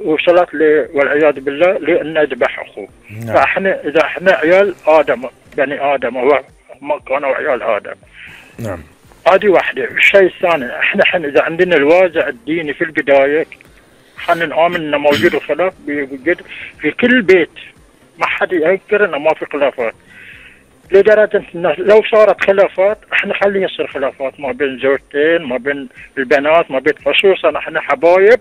وصلت والعياذ بالله لأن نذبح أخوه. فإحنا إذا إحنا عيال آدم، بني آدم، هو ما كانوا عيال آدم. نعم. هذه واحدة. الشيء الثاني، إحنا حين إذا عندنا الوازع الديني في البداية، حنا نآمن إنه موجود الخلاف بيوجد في كل بيت، ما حد ينكر إنه ما في خلافات. لدرجة إنه لو صارت خلافات إحنا خليه يصير خلافات ما بين زوجتين، ما بين البنات، ما بين، خصوصا إحنا حبايب.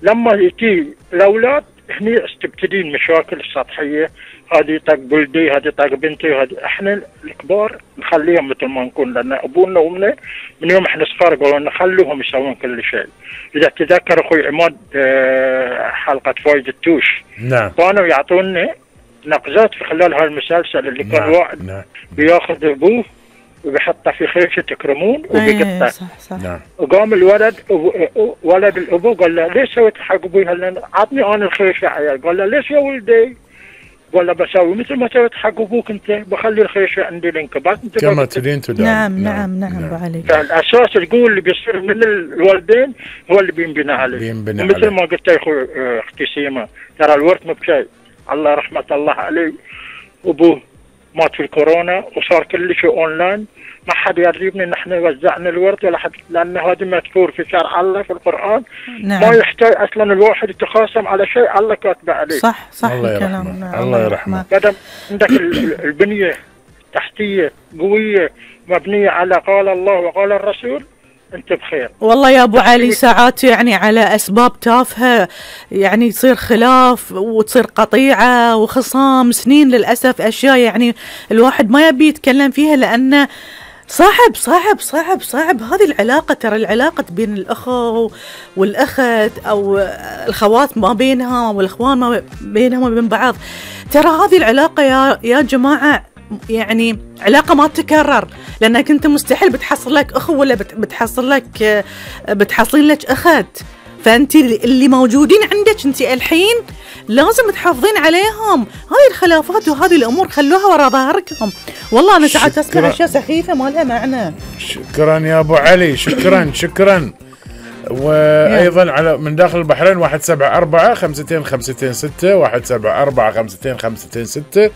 لما يجي الأولاد هني تبتدي المشاكل السطحية، هذه طق بلدي، هذه طق بنتي، هذه. إحنا الكبار نخليهم مثل ما نكون، لأن أبونا وأمنا من يوم إحنا صغار قالوا لنا خلوهم يسوون كل شيء. إذا تذكر أخوي عماد حلقة فايز التوش، نعم، كانوا يعطونا نقزات في خلال هالمسلسل اللي كان واحد بياخذ أبوه وبيحطه في خيشة تكرمون وبيقطع. صح. نعم. وقام الولد، ولد الأبو قال له ليش سويت حق أبوي؟ عطني أنا الخيشة عيال. قال له ليش يا ولدي؟ قال له بسوي مثل ما سويت حق أبوك أنت، بخلي الخيشة عندي لانكبات كما تدين تدان. نعم أبو علي. فالأساس القوة اللي بيصير من الوالدين هو اللي بينبنى عليه. مثل ما قلت يا أخوي أختي سيما، ترى الورث مو بشيء. الله رحمة الله عليه، أبوه مات في الكورونا وصار كل شيء أونلاين، ما حد يريبني ان احنا وزعنا الورد ولا حد، لان هذا مذكور في شرع الله في القرآن. نعم. ما يحتاج اصلا الواحد يتخاصم على شيء الله كاتبه عليه. صح الله الكلام. يرحمه. الله يرحمه. بدل عندك البنية تحتية قوية مبنية على قال الله وقال الرسول، انت بخير. والله يا ابو علي ساعات يعني على اسباب تافهه يعني يصير خلاف وتصير قطيعه وخصام سنين، للاسف اشياء يعني الواحد ما يبي يتكلم فيها، لانه صعب هذه العلاقه. ترى العلاقه بين الاخو والاخت او الخوات ما بينها والاخوان ما بينهم وبين بعض، ترى هذه العلاقه يا جماعه يعني علاقة ما تتكرر، لأنك أنت مستحيل بتحصل لك أخو ولا بتحصلين لك أخت. فأنت اللي موجودين عندك أنت الحين لازم تحافظين عليهم. هاي الخلافات وهذه الأمور خلوها وراء ظهركم. والله أنا ساعات أسمع أشياء سخيفة ما لها معنى. شكرا يا أبو علي، شكرا. وأيضا على من داخل البحرين 174-5256 174-5256،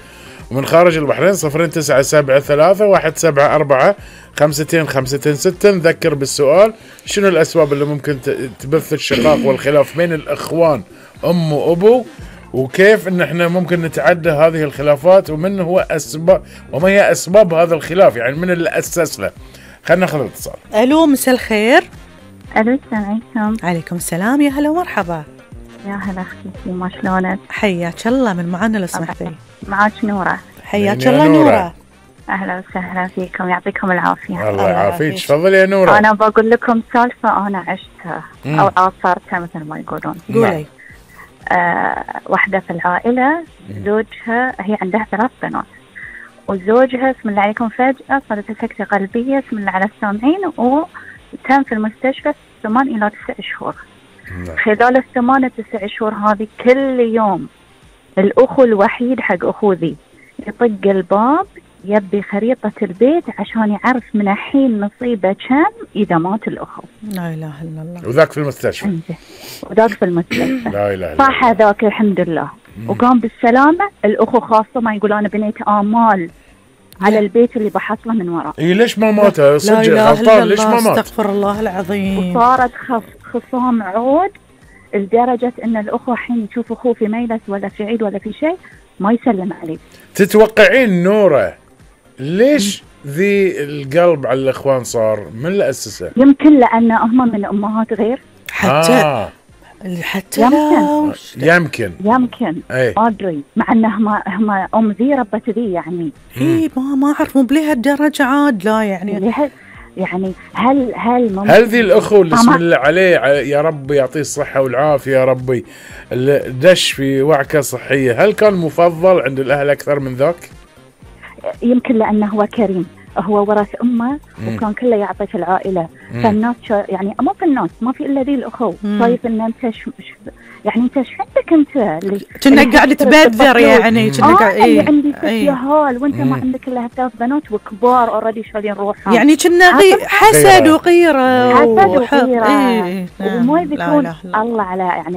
ومن خارج البحرين 0973-174-5256. نذكر بالسؤال: شنو الأسباب اللي ممكن تبث الشقاق والخلاف بين الأخوان أم وأبو، وكيف إن إحنا ممكن نتعدى هذه الخلافات، ومن هو وما هي أسباب هذا الخلاف، يعني من اللي أسس له. خلينا ناخذ الاتصال. ألو، مساء الخير. ألو، السلام عليكم. عليكم السلام، يا هلا ومرحبا. يا هلا أختي سيما، شلونك؟ حياك الله. من معانا لو سمحتي؟ معاك نورة. حياك الله نورة. أهلا وسهلا فيكم، يعطيكم العافية. الله يعافيك. تفضلي يا نورة. أنا بقول لكم سالفة أنا عشتها أو عاصرتها مثل ما يقولون. قولي. واحدة في العائلة زوجها، هي عندها 3 بنات، وزوجها بسم الله عليكم فجأة صارت سكتة قلبية بسم الله على السامعين، وتم في المستشفى 8 إلى 9 شهور. خلال 8 9 شهور هذه كل يوم الأخو الوحيد حق أخو ذي يطق الباب يبي خريطة البيت عشان يعرف من الحين نصيبه كم إذا مات الأخو. لا إله إلا الله. وذاك في المستشفى. وذاك في المستشفى. لا إله إلا الله. صح ذاك الحمد لله. وقام بالسلامة. الأخو خاصة ما يقول أنا بنيت آمال على البيت اللي بحصله من وراه. إيه ليش ما مات؟ صدق غلطان، ليش ما مات؟ استغفر الله العظيم. وصارت خصام عود لدرجة إن الأخو حين يشوف أخوه في ميلس ولا في عيد ولا في شيء ما يسلم عليه. تتوقعين نورة ليش ذي القلب على الإخوان صار؟ من اللي أسسه؟ يمكن لأن هم من أمهات غير. حتى يمكن ما أدري، مع أنه هم أم ذي ربت ذي يعني. ما أعرف مو بليه الدرجة عاد. لا يعني هل ذي الأخو اللي اسم الله عليه يا رب يعطيه الصحة والعافية يا ربي، اللي دش في وعكة صحية، هل كان مفضل عند الأهل أكثر من ذاك؟ يمكن لأنه هو كريم، هو ورث امه وكان كله يعطي في العائله. فالناس يعني مو في الناس ما في الا ذي الاخو، شايف ان انت يعني انت ايش عندك انت كنا قاعد تبذر يعني كنا قاعد عندي 6 يهال وانت ما عندك الا 3 بنات وكبار اوريدي شايلين روحهم، يعني كنا حسد وغيره حسد وغيره وما يذكرون الله على يعني